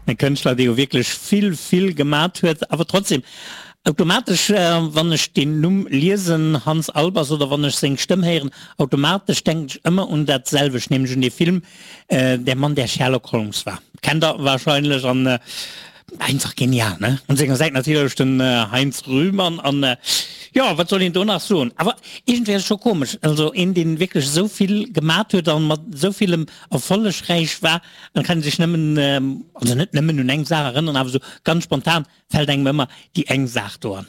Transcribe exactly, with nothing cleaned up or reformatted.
E Kënschtler, dee jo wierklech vill, vill gemat huet, awer trotzdem automatesch, wann ech deen Numm liesen, Hans Albers, oder wann ech seng Stëmm héieren, automatesch denken ech ëmmer un dat selwecht, nämlech un dee Film Der Mann, der Sherlock Holmes war. Kennt der wahrscheinlech an einfach genial, ne? Un senger Säit natierlech den Heinz Rühmann an jo, wat soll een do nach soen? Awer iergendwéi ass et scho komesch, also een, deen wierklech esou vill gemat huet an mat esou villem erfollegräich war, dann kann ee sech nëmmen, also net nëmmen un eng Saach erënneren, awer esou ganz spontan fält engem ëmmer déi eng Saach do an.